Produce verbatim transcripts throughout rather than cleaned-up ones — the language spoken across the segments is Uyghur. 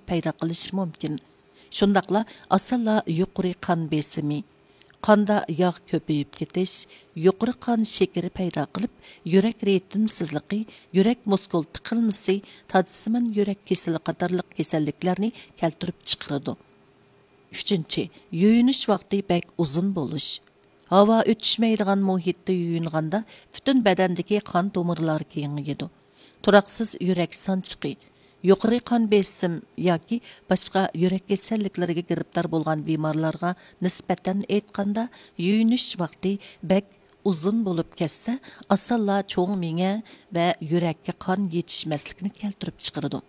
پەيدا قىلىشى مۇمكىن. شۇنداقلا ئاسانلا يۇقىرى قان بېسىمى، قاندا ياغ كۆپىيىپ كېتىش، يۇقىرى قان شېكىرى پەيدا قىلىپ، يۈرەك رىتىمسىزلىقى، يۈرەك مۇسكۇل تىقىلمىسى، تاجسىمان يۈرەك كېسىلى قاتارلىق كېسەللىكلەرنى كەلتۈرۈپ چىقىرىدۇ. ئۈچىنچى، يۇيۇنۇش ۋاقتى بەك ئۇزۇن بولۇش. ھاۋا ئۆتۈشمەيدىغان مۇھىتتا يۇيۇنغاندا پۈتۈن بەدەندىكى قان تومۇرلار كېڭىيىدۇ. تۇراقسىز يۈرەك سانچىقى، يۇقىرى قان بېسىم ياكى باشقا يۈرەك كېسەللىكلىرىگە گىرىپتار بولغان بىمارلارغا نىسبەتەن ئېيتقاندا، يۇيۇنۇش ۋاقتى بەك ئۇزۇن بولۇپ كەتسە، ئاسانلا چوڭ مېڭە ۋە يۈرەككە قان يېتىشمەسلىكنى كەلتۈرۈپ چىقىرىدۇ.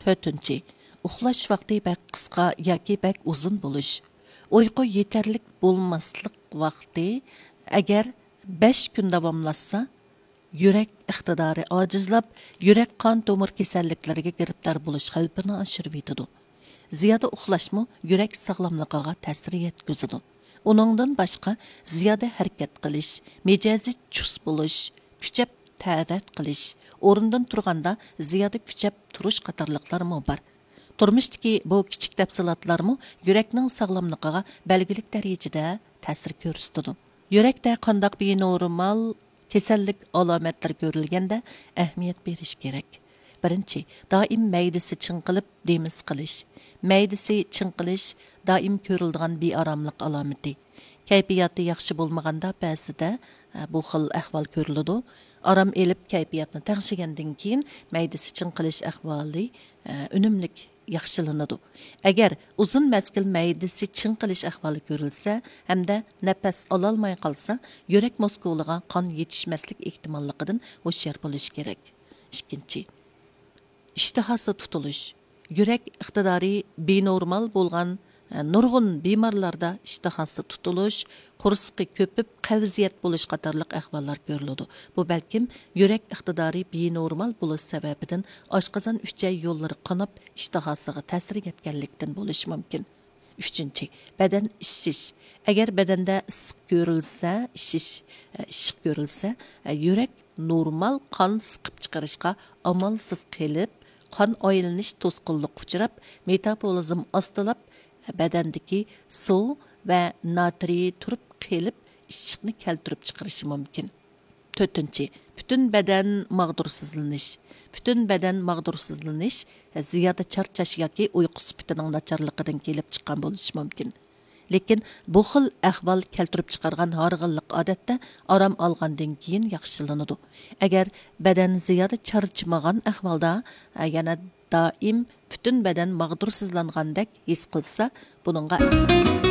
تۆتىنچى، ئۇخلاش ۋاقتى بەك قىسقا ياكى بەك ئۇزۇن بولۇش. ئۇيقۇ يېتەرلىك بولماسلىق ۋاقتى ئەگەر بەش كۈن داۋاملاشسا، يۈرەك ئىقتىدارى ئاجىزلاپ، يۈرەك قان تومۇر كېسەللىكلىرىگە گىرىپتار بولۇش خەۋپىنى ئاشۇرۇۋېتىدۇ. زىيادە ئۇخلاشمۇ يۈرەك ساغلاملىقىغا تەسىر يەتكۈزىدۇ. ئۇنىڭدىن باشقا، زىيادە ھەرىكەت قىلىش، مىجەزى چۇس بولۇش، كۈچەپ تەرەت قىلىش، ئورنىدىن تۇرغاندا زىيادە كۈچەپ تۇرۇش قاتارلىقلارمۇ بار. تۇرمۇشتىكى بۇ كىچىك تەپسىلاتلارمۇ يۈرەكنىڭ ساغلاملىقىغا بەلگىلىك دەرىجىدە تەسىر كۆرسىتىدۇ. يۈرەكتە قانداق بىنورمال كېسەللىك ئالامەتلىرى كۆرۈلگەندە ئەھمىيەت بېرىش كېرەك. بىرىنچى، دائىم مەيدىسى چىڭقىلىپ دېمى سىقىلىش. مەيدىسى چىڭقىلىش دائىم كۆرۈلىدىغان بىئاراملىق ئالامىتى. كەيپىياتى ياخشى بولمىغاندا بەزىدە، ئە، بۇ خىل ئەھۋال كۆرۈلىدۇ. ئارام ئېلىپ، كەيپىياتنى تەڭشىگەندىن كېيىن، مەيدىسى چىڭقىلىش ئەھۋالى، ئە، ئۈنۈملۈك ياخشىلىنىدۇ. ئەگەر ئۇزۇن مەزگىل مەيدىسى چىڭقىلىش ئەھۋالى كۆرۈلسە ھەمدە نەپەس ئالالماي قالسا، يۈرەك مۇسكۇلىغا قان يېتىشمەسلىك ئېھتىماللىقىدىن ھوشيار بولۇش كېرەك. ئىككىنچى، ئىشتىھاسى تۇتۇلۇش. يۈرەك ئىقتىدارى بىنورمال بولغان، ئە، نۇرغۇن بىمارلاردا ئىشتىھاسى تۇتۇلۇش، قورسىقى كۆپۈپ، قەۋزىيەت بولۇش قاتارلىق ئەھۋاللار كۆرۈلىدۇ. بۇ بەلكىم يۈرەك ئىقتىدارى بىنورمال بولۇش سەۋەبىدىن ئاشقازان ئۈچەي يوللىرى قاناپ، ئىشتىھاسىغا تەسىر يەتكەنلىكتىن بولۇشى مۇمكىن. ئۈچىنچى، بەدەن ئىششىش. ئەگەر بەدەندە ئىسسىق كۆرۈلسە، ئىششىش، ئە، ئىششىق كۆرۈلسە، ئە، يۈرەك نورمال قان سىقىپ چىقىرىشقا ئامالسىز قېلىپ، قان ئايلىنىش توسقۇنلۇققا ئۇچراپ، مېتابولىزم ئاستىلاپ، بەدەندىكى سۇ ۋە ناترىي تۇرۇپ قېلىپ، ئىششىقنى كەلتۈرۈپ چىقىرىشى مۇمكىن. تۆتىنچى، پۈتۈن بەدەن ماغدۇرسىزلىنىش. پۈتۈن بەدەن ماغدۇرسىزلىنىش زىيادە چارچاش ياكى ئۇيقۇ سۈپىتىنىڭ ناچارلىقىدىن كېلىپ چىققان بولۇشى مۇمكىن. لېكىن بۇ خىل ئەھۋال كەلتۈرۈپ چىقارغان ھارغىنلىق ئادەتتە ئارام ئالغاندىن كېيىن ياخشىلىنىدۇ. ئەگەر بەدەن زىيادە چارچىمىغان ئەھۋالدا، ئە، يەنە دائىم پۈتۈن بەدەن ماغدۇرسىزلانغاندەك ھېس قىلسا، بۇنىڭغا